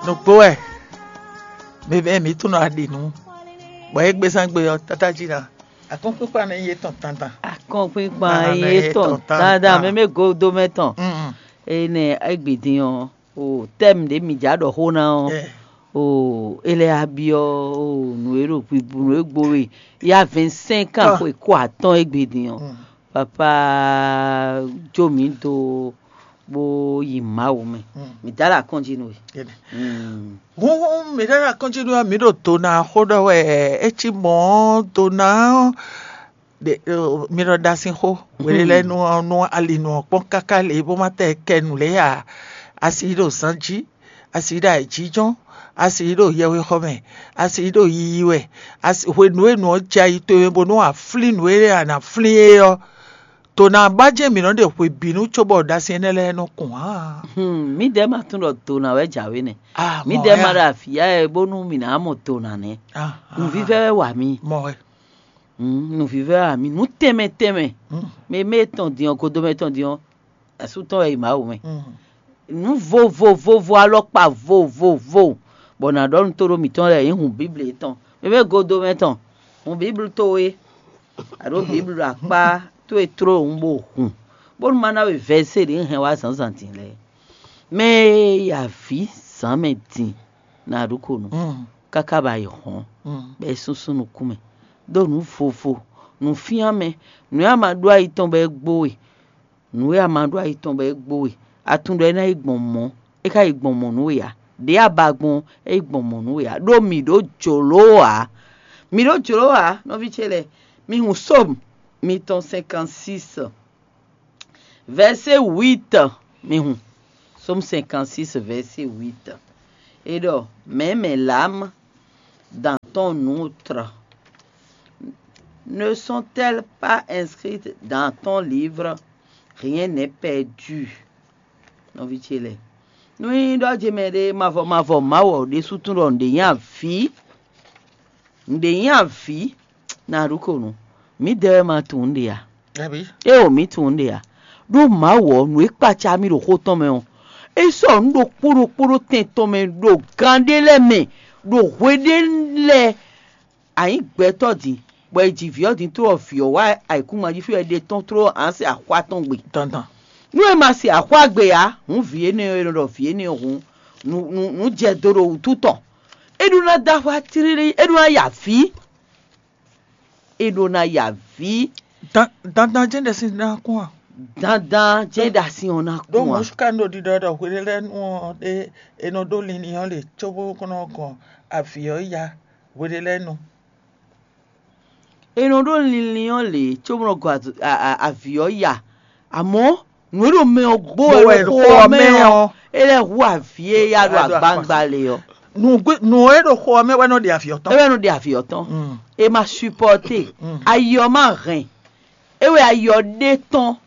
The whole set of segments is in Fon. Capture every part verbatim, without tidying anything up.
Nǔgbó wɛ, mɛ mɛ mǐ tunɔ aɖi nǔ, bɔ é gbézán gbe ɔ́, tátájí ná. Akɔ́nkpínkpan nɔ nyí étɔn dandan. Akɔ́nkpínkpan nyí étɔn dandan, mɛ mɛ godomɛ tɔn. Énɛ́ égbé din ɔ́, o tɛ́m ɖě mǐ já ɖɔ xó ná ɔ́, o é lɛ́ á byɔ́ o nǔ e ɖo nǔ e gbo we yá vɛ̌nsɛ́n kan xwe kó atɔ́ɔ́n égbé din ɔ́. Papá jó mǐ dó bó yi Mawu mɛ. Mǐ dá ɖo akɔ́njí nú we. Hǔnhún mǐ ɖɔ ɖo akɔ́njí nú mǐ ɖo dona xó ɖɔ wɛ. É cí mɔ̌ dona ɔ́, mi ɖɔ ɖa sín xó. Hwelélɛ́nu ɔ́, nú ali nǔ ɔ́ kpɔ́n káká lě bó ma tɛ kɛ nǔ lě ǎ. A si yi ɖo zan jí, a si yi ɖo ayǐjínjɔ́n, a si yi ɖo yɛwexɔ mɛ, a si yi ɖo yiyi wɛ, hwenu e nǔ ɔ́ jɛ ayi towe mɛ bónú a flín nǔ e a nǎ flín é ɔ́, to ná ba jɛ́n mǐ nɔ ɖe hwebǐnu cóbɔ ɖasin énɛ́ lɛ́ɛ nɔ kun ǎ. Mǐdɛɛ ma tunwun ɖɔ dona wɛ jǎwe nɛ́. Mǐdɛɛ ma ɖo avǐ ya wɛ bónú mǐ ná mɔ dona nɛ́. Nǔvívɛ́ wɛ wa mì. Mɔ wɛ. Nǔvívɛ́ wɛ wa mì. Nǔ tɛnmɛ tɛnmɛ. Mɛ mɛ tɔn din ɔ́, godomɛ tɔn din ɔ́, asú tɔn wɛ yi Mawu mɛ. Nǔ vovovovo, alɔkpa vovovo, bɔ nǎ ɖɔ nú tóɖó mǐtɔn lɛ́ɛ nyí hun Bíbli yětɔn. Mɛ mɛ godomɛ tɔn, hun Bíbli towe, aɖó Bíbli ɖo akpá towe tló un bó hun, bónú má ná we vɛ̌sé ɖě un hɛn wá zǎnzǎn din lɛ́ɛ. Mɛ e yi avǐ zǎn mɛ din ná ɖu ko nú, káká ba yi hɔn, bɔ é súnsún nukún mɛ, ɖó nǔ vovo, nǔfyánmɛ, nǔ e a ma ɖó ayi tɔn bɔ é gbo we, nǔ e a ma ɖó ayi tɔn bɔ é gbo we, a tunwun ɖɔ é ná yi gbɔn mɔ̌, é ka yi gbɔn mɔ̌ nú we ǎ. Ɖě a ba gbɔn é yi gbɔn mɔ̌ nú we ǎ, ɖó mǐ ɖó jlǒ ǎ. Mǐ ɖó jlǒ ǎ, nɔví ce lɛ́ɛ. Mi hun Sómu mitɔn cinquante-six, verset huit. Mi hun Sómu cinquante-six, verset huit. Et donc, même l'âme dans ton outre, ne sont-elles pas inscrites dans ton livre? Rien n'est perdu. Nɔví ce lɛ́ɛ, nú nyí ɖɔ ce mɛ ɖé mavɔ mavɔ Mawu ɔ́ ɖésú tunwun ɖɔ nǔɖé nyí avǐ, nǔɖé nyí avǐ, ná ɖu ko nú mǐdɛɛ wɛ ma tunwun nǔɖé ǎ. Éeǒ, mǐ tunwun nǔɖé ǎ. Ɖó Mawu ɔ́, nǔ e kpaca mì ɖo xó tɔn mɛ ɔ́, é sɔ́ nǔ ɖokpó ɖokpó ɖó tɛn tɔn mɛ ɖo gan ɖé lɛ́ɛ mɛ, ɖo hwe ɖé lɛ́ɛ. A nyǐ gbɛtɔ́ din, bɔ è ji vǐ ɔ́ din tló ɔ́, vǐ ɔ́ wá ayǐkúngban jí fí wɛ è ɖe tɔ́n tló ǎ se axwá tɔn gbe. Dandan. Nú è ma se axwá gbe ǎ, hǔn vǐ énɛ́ ɔ́, è nɔ ɖɔ vǐ énɛ́ ɔ́ hǔn nǔ nǔ nǔ jɛ do ɖo wǔtu tɔn. É ɖó ná dó axwá tlílí, é ɖó ná ya vǐ. É ɖó ná ya vǐ. Dandan jɛ́n ɖɛsin ná kún a? Dandan jɛ́n ɖasin ɔ́ ná kún a? Ɖó mɔ̌ ká nɔ ɖiɖɔ ɖɔ hweɖélɛ́nu ɔ́ ɖé è nɔ ɖó linlin ɔ́ lě cóbó nɔ gɔn avǐ ɔ́ ya hweɖélɛ́nu. È nɔ ɖó linlin ɔ́ lě cóbó nɔ gɔn avǐ ɔ́ ya, amɔ̌ nǔ e ɖo mɛ ɔ́ gbó wɛ ɖo xó ɔ́ mɛ ɔ́, é lɛ́ hu avǐ e ya ɖo agbangba lě ɔ́. Nǔ e ɖo xó ɔ́ mɛ wɛ nɔ ɖe avǐ ɔ́ tɔn. É wɛ nɔ ɖe avǐ ɔ́ tɔn. É ma supɔ́te, ayi ɔ́ ma hɛn. É wɛ ayi ɔ́ ɖe tɔn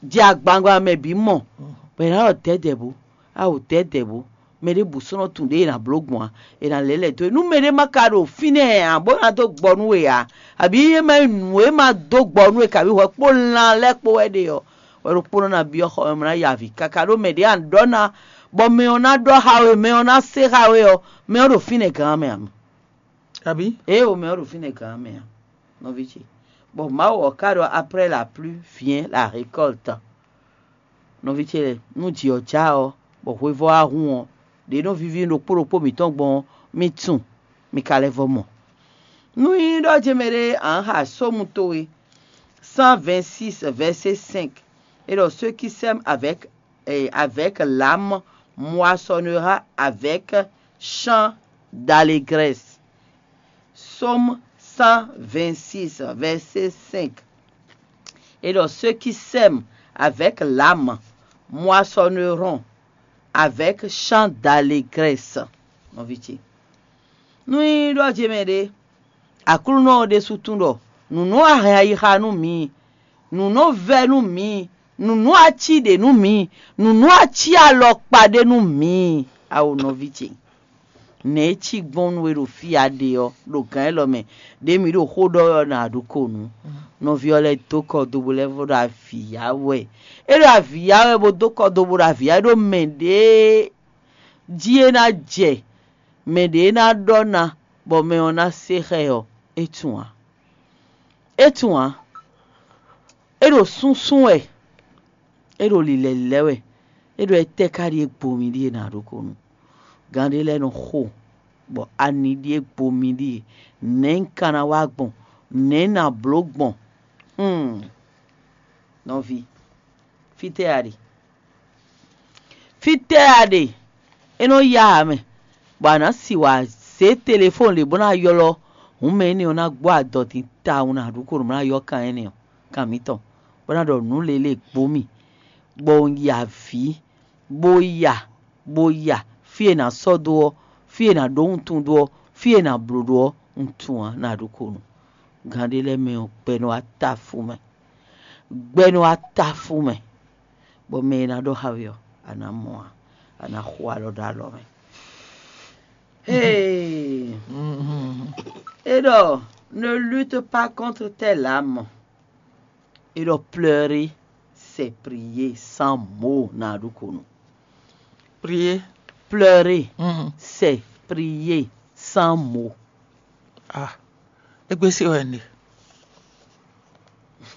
jɛ agbangba mɛ bǐ mɔ, bɔ è nǎ ɖɔ dɛ̌dɛ̌ bó, awo dɛ̌dɛ̌ bó, mɛ ɖěbǔ sɔ́ nɔ tunwun ɖě è nǎ bló gbɔn ǎ, è nǎ lɛ́ lɛ̌ dó e. Nú mɛɖé ma ka ɖo fínɛ́ ǎ, bó ná dó gbɔ nú we ǎ, abǐ é ma nyí nǔ e ma dó gbɔ nú we kabǐ hwɛ kpó lan lɛ́ɛ kpó wɛ ɖe ɔ́, wɛ ɖokpónɔ ná byɔ́ xɔ mɛ, ná ya avǐ káká ɖó mɛ ɖě a nǎ ɖɔ ná, bɔ mɛ ɔ́ ná ɖɔ xá we, mɛ ɔ́ ná se xá we ɔ́, mɛ ɔ́ ɖo fínɛ́ gǎn mɛ ǎ mɛ. Abǐ? Ée o mɛ ɔ́ ɖo fínɛ́ gǎn mɛ ǎ, nɔví ce. Bɔ Mawu ɔ́ ka ɖɔ: Après la pluie vient la récolte. Nɔví ce lɛ́ɛ, nú jǐ ɔ́ já ɔ́, bɔ hwevɔ́ wá hun ɔ́, ɖě nɔ víví ɖokpó ɖokpó mǐtɔn gbɔn ɔ́, mi tunwun, mi ka lɛ́ vɔ́ mɔ. Nú nyí ɖɔ ce mɛ ɖé ǎ xa sómu towe, cent vingt-six, verset cinq, et donc ceux qui sèment avec, eh, avec l'âme moissonnera avec chant d'allégresse. Psaume cent vingt-six, verset cinq. Et donc ceux qui sèment avec l'âme moissonneront avec chant d'allégresse. Nɔví ce, nú nyí ɖɔ ce mɛ ɖé, Aklúnɔ ɔ́ ɖésú tunwun ɖɔ nǔ nɔ wá hɛn ayixa nú mǐ, nǔ nɔ vɛ́ nú mǐ, nǔ nɔ ací ɖě nú mǐ, nǔ nɔ ací alɔkpa ɖé nú mǐ. Awo nɔví ce, nɛ̌ é cí gbɔn nú we ɖo fí a ɖe ɔ́, ɖo gǎn élɔ́ mɛ, ɖě mǐ ɖo xó ɖɔ ɔ́ ná ɖu ko nǔ? Nɔví ɔ́ lɛ́ dó kɔ do bó lɛ́ vɔ ɖo avǐ ya wɛ. É ɖo avǐ ya wɛ bó dó kɔ do bó ɖo avǐ ya ɖó mɛ ɖě jí é ná jɛ mɛ ɖě ná ɖɔ ná bɔ mɛ ɔ́ ná se xá ɛ ɔ́, é tunwun ǎ. É tunwun ǎ. É ɖo súnsún wɛ, é ɖo lǐlɛ̌lílɛ́ wɛ, é ɖo étɛ́ ka ɖíe gbo mì ɖíe nǎ ɖó ko nu. Gǎn ɖé lɛ́ɛ nɔ xo, bɔ ani ɖíe gbo mì ɖíe, nɛ̌ un ka ná wa gbɔn? Nɛ̌ un ná bló gbɔn? Hmm. Nɔví, fítɛ́ a ɖe? Fítɛ́ a ɖe? É nɔ yá ǎ mɛ, bɔ a nǎ si wǎ zé telefɔ́ɔn lě bó ná ylɔ́ hǔn mɛ énɛ́ ɔ́ ná gbɔ adɔ din tawun ná ɖu ko nǔ bó ná ylɔ́ kan énɛ́ ɔ́, kan mǐtɔn, bó ná ɖɔ nǔ lě lě gbó mì, bɔ un yi avǐ, bó ya, bó ya, fí e è nǎ sɔ́ dó ɔ́, fí e è nǎ ɖó wuntun dó ɔ́, fí e è nǎ bló ɖó ɔ́, un tunwun ǎ ná ɖu ko nǔ. Gǎn ɖé lɛ́ɛ mɛ ɔ́, gbɛ nɔ wá ta fú mɛ. Gbɛ nɔ wá ta fú mɛ, bɔ mɛ e ná ɖɔ xá we ɔ́, a nǎ mɔ ǎ, a nǎ xo alɔ ɖó alɔ mɛ. Hey! É ɖɔ, ne lutte pas contre tes larmes. É ɖɔ pleurer, c'est prier sans mot ná ɖu ko nu. Prier. Pleurer, c'est prier sans mot. Ah, égbé sí wɛ un ɖe.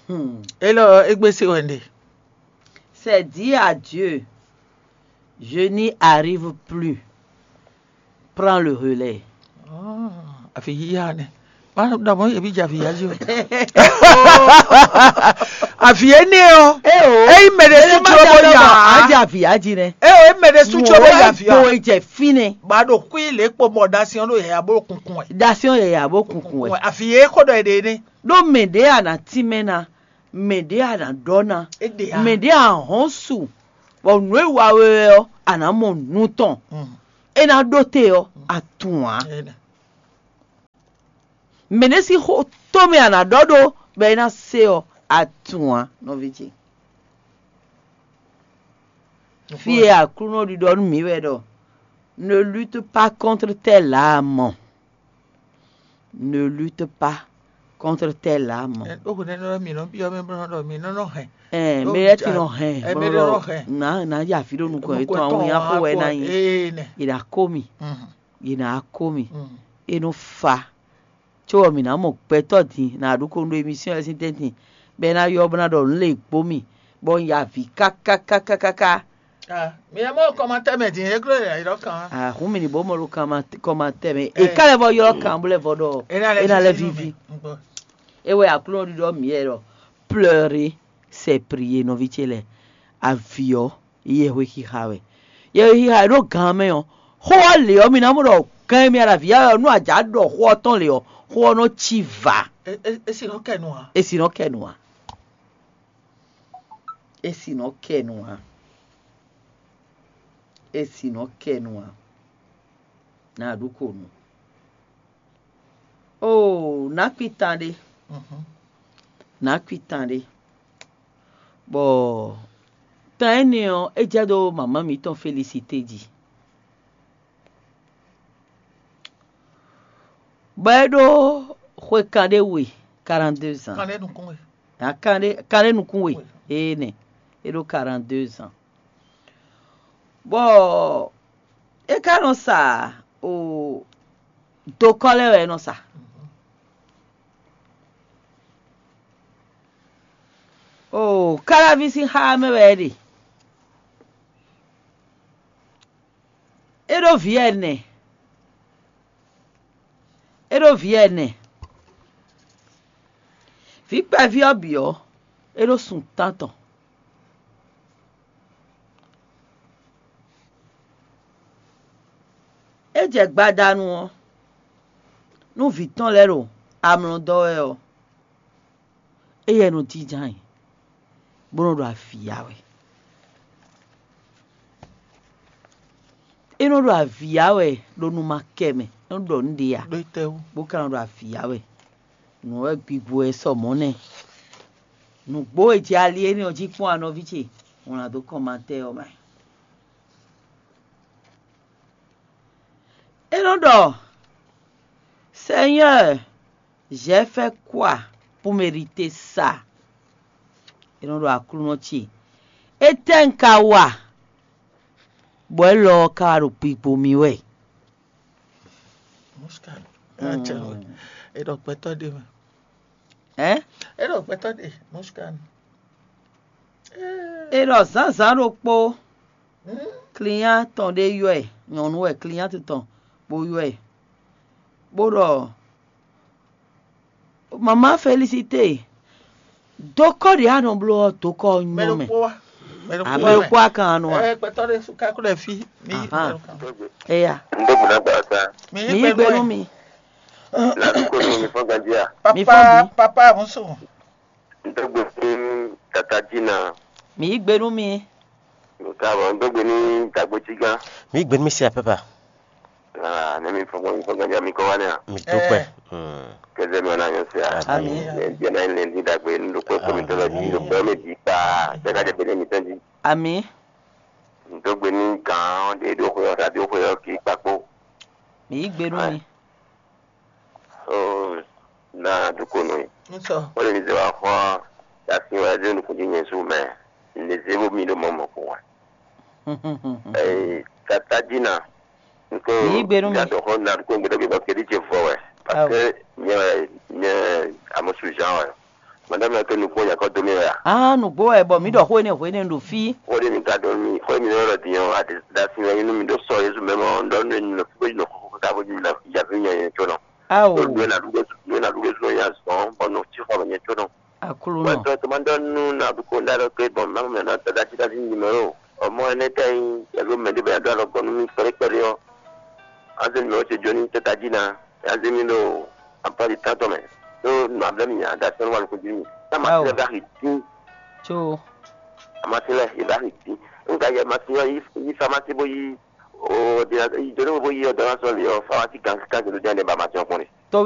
Hmm. Élɔ́ égbé sí wɛ un ɖe. C'est dire à Dieu, je n'y arrive plus. Prends le relais. Àfi yíyá nɛ. Má ɖɔ mɔ̌ yě bí jɛ avǐ yá jí o. Avǐ énɛ́ ɔ́. Eye mɛ ɖé sú tí ó bó ya. Á jẹ avǐ yá jí nɛ. Eye mɛ ɖé sú tí ó bó ya avǐ Wo ɔ́. Ejɛ fínɛ. Bá ɖo kú ilé kpo mɔ ɖasí ɔ́ ɖo yɛ̌yà bó kunkun wɛ. Dasi ɔ́ yɛ yà bó kunkun wɛ. Àfi yě kó ɖɔ èɖè énɛ́. Ɖó mɛ ɖě a nǎ tínmɛ ná, mɛ ɖě a nǎ ɖɔ ná, Éɖe ǎ. Mɛ ɖě a hɔn su, bɔ nǔ e wa we wɛ ɔ́, a nǎ mɔ nǔ tɔn. É ná ɖó te ɔ́, a tunwun ǎ. Mɛ ɖé sín xó tɔn mɛ a nǎ ɖɔ ɖó bɔ é ná se ɔ́, a tunwun ǎ, nɔví ce. Fí e Aklúnɔ ɖiɖɔ nú mǐ wɛ ɖɔ: Ne lutte pas contre tes larmes. Ne lutte pas contre tes larmes. Ó hwenu ɛnɛ mi nɔ byɔ́ mɛ bó nɔ ɖɔ mi nɔ nɔ hɛn. Ɛɛ, mɛ lɛ́ɛ ti nɔ hɛn, bó nɔ ɖɔ nǎ nǎ ya vǐ ɖo nukɔn yětɔn, àwọn yẹn xó wɛ ná nyi. Ee nɛ. Yě ná kó mi, yě ná kó mi, é nɔ fa. Có ɔ́, mǐ ná mɔ gbɛtɔ́ din nǎ ɖu ko nú émisíɔn ɛ sín tɛ́ntin, bɔ é ná ylɔ́ bó ná ɖɔ nǔ lě gbó mì, bɔ un ya avǐ káká káká káká. Mi ɛ mɔ kɔmatɛ mɛ din, é gló yɛ ylɔ́ kan. Ahun mi ni bó mɔ ɖo kɔmatɛ mɛ. È ká lɛ́ vɔ ylɔ́ kan bó lɛ́ vɔ ɖɔ é ná lɛ́ víví. É wɛ Aklúnɔ ɖiɖɔ mǐ wɛ ɖɔ: Pleurer, c'est prier, nɔví ce lɛ́ɛ. Avǐ ɔ́, yɛhwexixa wɛ. Yɛhwexixa e ɖo gan mɛ ɔ́, xó ɔ́ lě ɔ́, mi ná mɔ ɖɔ gan e mi ɖo avǐ ya wɛ ɔ́, nú a jǎ ɖɔ xó ɔ́ tɔn lě ɔ́, xó ɔ́ nɔ cí vǎ. É sì nɔ kɛ nu ǎ. É sì nɔ kɛ nu ǎ. É sì nɔ kɛ nu ǎ. É sì nɔ kɛ nu ǎ. Nǎ ɖu ko nu. Oo, nǎ kpitan ɖé. Nǎ kpitan ɖé. Bɔ tan énɛ́ ɔ́, é jɛ dó mamá mǐtɔn Felisite jí. Bɔ é ɖó xwe kanɖé we, quarante-deux ans. Kanɖé nukún we. Kanɖé nukún we. Énɛ́, é ɖó quarante-deux ans. Bɔ é ka nɔ sa o dokɔ lɛ́ɛ wɛ é nɔ sa. O Káláví sín xá mɛ wɛ é ɖe. É ɖó vǐ ɛnɛ. É ɖó vǐ ɛnɛ. Vǐ kpɛví ɔ́ bǐ ɔ́, é ɖó sun tántɔn. É jɛ gbadanu ɔ́, nú vǐ tɔn lɛ́ɛ ɖo amlɔ dɔ́ wɛ ɔ́, éyɛ́ nɔ jínjɔ́n ayǐ, bó nɔ́ ɖo avǐ ya wɛ. É nɔ́ ɖo avǐ ya wɛ ɖo nu ma kɛ mɛ, é nɔ́ ɖɔ nǔɖé ǎ, bó ka nɔ ɖo avǐ ya wɛ. Nǔ wɛ gbigbo wɛ sɔ mɔ̌ nɛ́. Nǔgbó e jɛ ali énɛ́ ɔ́ jí kpɔ́n anɔví ce, wlán dó kɔnmatɛ́ ɔ́ mɛ. É nɔ́ ɖɔ: Seigneur, j'ai fait quoi pour mériter ça? É nɔ́ ɖɔ: Aklúnɔ ce, étɛ́ un ka wa? Bɔ élɔ́ ɔ́ ka ɖo kpikpo mì wɛ. Muskan. Mm. Acɛ wɛ. E ɖɔ gbɛtɔ́ ɖe mɛ. Ɛ? E ɖɔ gbɛtɔ́ ɖe. Muskan. E ɖɔ zǎnzǎn ɖokpó, client tɔn ɖé ylɔ́ ɛ, nyɔ̌nu wɛ client tɔn bó ylɔ́ ɛ, bó ɖɔ: "Maman Félicité, dokɔ ɖě a nɔ bló ɔ́, dokɔ ɔ́ nyɔ́ mɛ." Mɛ ɖokpó wá. Mɛ ɖokpó wá. Mɛ ɖokpó wá kan nɔ a? Ɛ, gbɛtɔ́ ɖé sú kákó ɖɛ fí. Mi yí gbɛnu kan. Eya. N bɛ bùnà gbà sa. Mi yí gbɛnu mi. Ladu ko mi fɔ gandia. Papa, papa musu. N tɛ gbé fún tata Jina. Mi yí gbɛnu mi. Nka bɔ n tɛ gbé ní dagbo tsigan. Mi yí gbɛnu mi si apapa. Ah, ne mi fɔ mi fɔ gandia mi kɔ wa ne a. Mi dúpẹ́. Kɛsɛ mi ɔna yɔ se a. Ami. Ne diɛ na ne di dagbe nu do kpɛ kɔ mi tɔ lɔ di do kpɛ mi di kpa. Tɛ ka jɛ bɛ ne mi tɔn di. Ami. N tɛ gbé ní kan de do xɔ yɔ da do xɔ yɔ ki kpakpo. Mi yí gbɛnu mi. Ó, ná dúkò nú i. Ŋutɔ. Ó lè ní zé wá xɔ asi wɛ zé nukún jí nyɛ sú mɛ. Ní zé bó mi ɖó mɔ mɔ kún wɛ. Ee, tata jí na. Nko. Ní gbé nú mi. Yàtọ̀ xɔ na dúkò gbé dɔgbe bɔ kéde jẹ vɔ wɛ. Parce que nyɛ nyɛ amusu Jean wɛ. Madame la ke nukún yakɔ dó mi wɛ a. Ah, nǔgbó wɛ bɔ mǐ ɖɔ xó énɛ́ hwénɛ́ ɖo fí. Xó ɖé mi ka dó mi, xó mi lɔ dǐn ɔ́, a ɖe da sin wɛ nú mi ɖó sɔ Jezu mɛ mɔ, ɖɔ nú mi nɔ fí bó yi nɔ xó ká bó yi nɔ yavǐ nyɛ nyɛ có nɔ. Ao. Nú ena ɖuɖe nú ena ɖuɖe zɔn ya zɔn bɔ nɔ tí xɔ mɛ nyɛ có nɔ. Aklúnɔ. Wɛ tɔ tó ma ɖɔ nú na bu ko nda ɖɔ ke bɔn ma mɛ na da da ti da ti nyimɛ o. Ɔmɔ ɛnɛ tɛ nyi yavǐ mɛ ɖé bɛ ya dó alɔ gɔn nú mi kpɛɖé kpɛɖé ɔ́. Azé mi ɔ́ ce jó ní tɛ́ tají ná. Azé mi ɖo ampɔ́ ɖi tántɔn mɛ. Ɖó nɔ ablɛ́ mi nya da sɛn wà lóko jí mi. Tá ma ti lɛ bá xi dín. Tso. A ma ti lɛ yě bá xi dín. Nígbà yẹ ma ti yọ yí fa ma ti bó yí. O de yi jɔ ní bó yí ɔdɔ lásán lè ɔ fa wa ti gan kan jòló jẹ́ ní ba ma ti ɔkpɔn ni.